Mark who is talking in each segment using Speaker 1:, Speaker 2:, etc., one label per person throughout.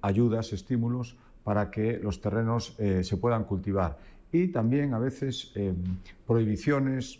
Speaker 1: ayudas, estímulos para que los terrenos se puedan cultivar. Y también a veces prohibiciones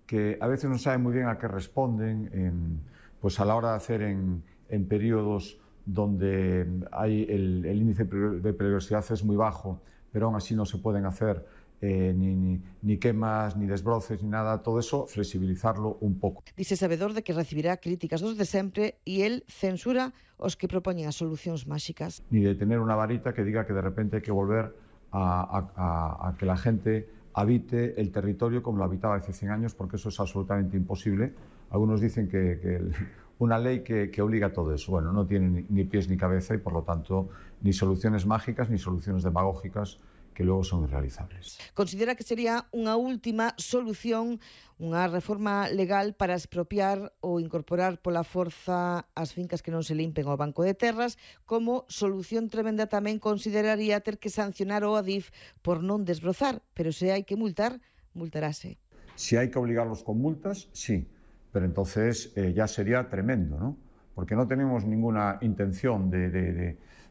Speaker 1: que a veces no saben muy bien a qué responden, pues a la hora de hacer en periodos donde hay el índice de peligrosidad es muy bajo, pero aún así no se pueden hacer ni quemas, ni desbroces, ni nada, todo eso, flexibilizarlo un pouco.
Speaker 2: Dice sabedor de que recibirá críticas dos de sempre e el censura os que propoñen as solucións máxicas.
Speaker 1: Ni de tener una varita que diga que de repente hay que volver a que la gente habite el territorio como lo habitaba hace 100 años, porque eso es absolutamente imposible. Algunos dicen que una ley que obliga a todo eso. Bueno, no tiene ni pies ni cabeza y, por lo tanto, ni soluciones mágicas ni soluciones demagógicas que luego son irrealizables.
Speaker 2: Considera que sería unha última solución unha reforma legal para expropiar ou incorporar pola forza as fincas que non se limpen ao Banco de Terras. Como solución tremenda tamén consideraría ter que sancionar o Adif por non desbrozar, pero se hai que multar, multarase.
Speaker 1: Si hay que obligarlos con multas, sí, pero entonces ya sería tremendo, ¿no? Porque no tenemos ninguna intención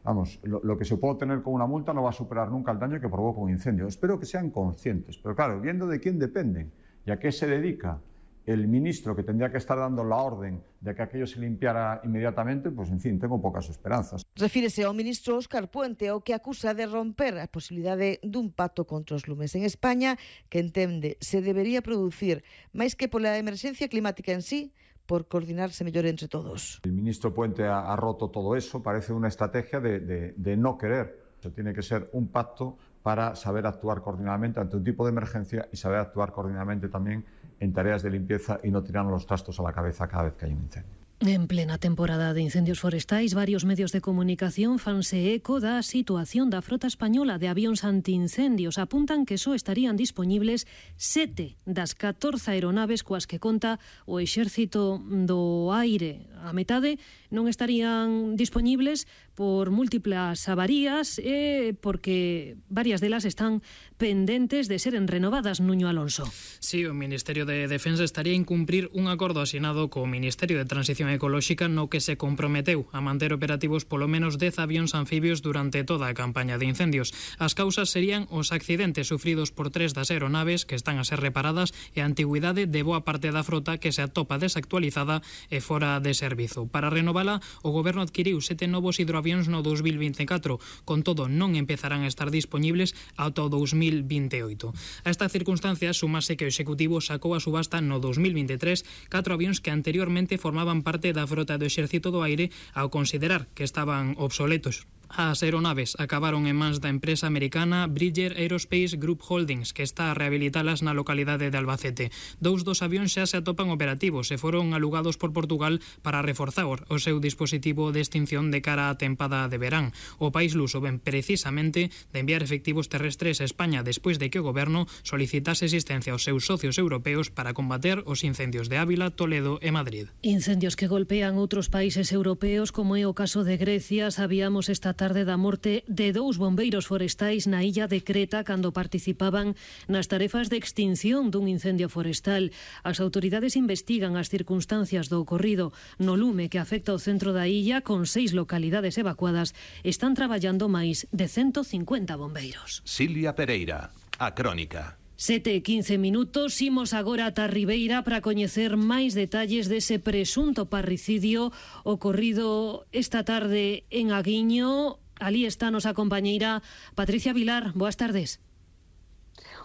Speaker 1: vamos, lo que se puede obtener con una multa no va a superar nunca el daño que provoca un incendio. Espero que sean conscientes, pero claro, viendo de quién dependen y a qué se dedica el ministro que tendría que estar dando la orden de que aquello se limpiara inmediatamente, pues en fin, tengo pocas esperanzas.
Speaker 2: Refírese ao ministro Óscar Puente, o que acusa de romper a posibilidade dun pacto contra os lumes en España, que entende se debería producir máis que pola emerxencia climática en sí, por coordinarse mellor entre todos.
Speaker 1: El ministro Puente ha roto todo eso, parece una estrategia de no querer. Tiene que ser un pacto para saber actuar coordinadamente ante un tipo de emergencia y saber actuar coordinadamente también en tareas de limpieza y no tirarnos los trastos a la cabeza cada vez que hay un incendio.
Speaker 3: En plena temporada de incendios forestais, varios medios de comunicación fanse eco da situación da frota española de avións antiincendios. Apuntan que só estarían dispoñibles 7 das 14 aeronaves coas que conta o Exército do Aire. A metade non estarían dispoñibles por múltiplas avarías e porque varias delas están pendentes de seren renovadas. Nuño Alonso.
Speaker 4: Sí, o Ministerio de Defensa estaría a incumprir un acordo asinado co Ministerio de Transición Ecolóxica no que se comprometeu a manter operativos polo menos 10 avións anfibios durante toda a campaña de incendios. As causas serían os accidentes sufridos por 3 das aeronaves que están a ser reparadas e a antigüidade de boa parte da frota que se atopa desactualizada e fora de servizo. Para renovala, o Goberno adquiriu 7 novos hidroavións no 2024, con todo non empezarán a estar dispoñibles ata o 2028. A esta circunstancia sumase que o Executivo sacou a subasta no 2023 4 avións que anteriormente formaban parte da frota do Exército do Aire ao considerar que estaban obsoletos. As aeronaves acabaron en mans da empresa americana Bridger Aerospace Group Holdings, que está a rehabilitalas na localidade de Albacete. 2 dos avións xa se atopan operativos e foron alugados por Portugal para reforzar o seu dispositivo de extinción de cara á tempada de verán. O país luso ven precisamente de enviar efectivos terrestres a España despois de que o Goberno solicitase asistencia aos seus socios europeos para combater os incendios de Ávila, Toledo e Madrid.
Speaker 3: Incendios que golpean outros países europeos, como é o caso de Grecia. Sabíamos esta tarde da morte de 2 bombeiros forestais na illa de Creta cando participaban nas tarefas de extinción dun incendio forestal. As autoridades investigan as circunstancias do ocorrido no lume que afecta o centro da illa, con 6 localidades evacuadas. Están traballando máis de 150 bombeiros.
Speaker 5: Silvia Pereira, a Crónica.
Speaker 3: 7:15 minutos, imos agora ata Ribeira para coñecer máis detalles dese presunto parricidio ocorrido esta tarde en Aguiño. Alí está a nosa compañeira Patricia Vilar. Boas tardes.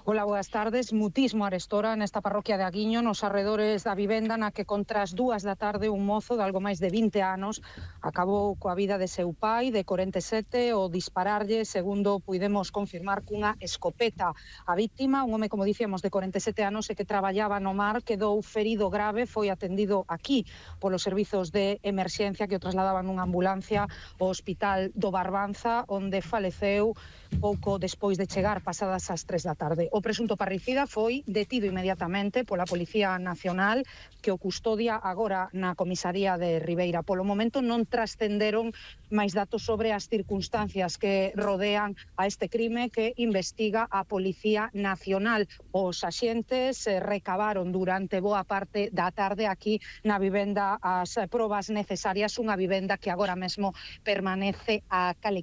Speaker 6: Hola, boas tardes. Mutismo arestora nesta parroquia de Aguiño, nos arredores da vivenda na que contra as 2 da tarde un mozo de algo máis de 20 anos acabou coa vida de seu pai, de 47, ao dispararlle, segundo puidemos confirmar, cunha escopeta. A víctima, un home, como dicíamos, de 47 anos e que traballaba no mar, quedou ferido grave, foi atendido aquí polos servizos de emerxencia que o trasladaban nunha ambulancia ao Hospital do Barbanza, onde faleceu pouco despois de chegar pasadas as 3 da tarde. O presunto parricida foi detido inmediatamente pola Policía Nacional, que o custodia agora na comisaría de Ribeira. Polo momento non trascenderon máis datos sobre as circunstancias que rodean a este crime que investiga a Policía Nacional. Os axentes recabaron durante boa parte da tarde aquí na vivenda as probas necesarias, unha vivenda que agora mesmo permanece a cal e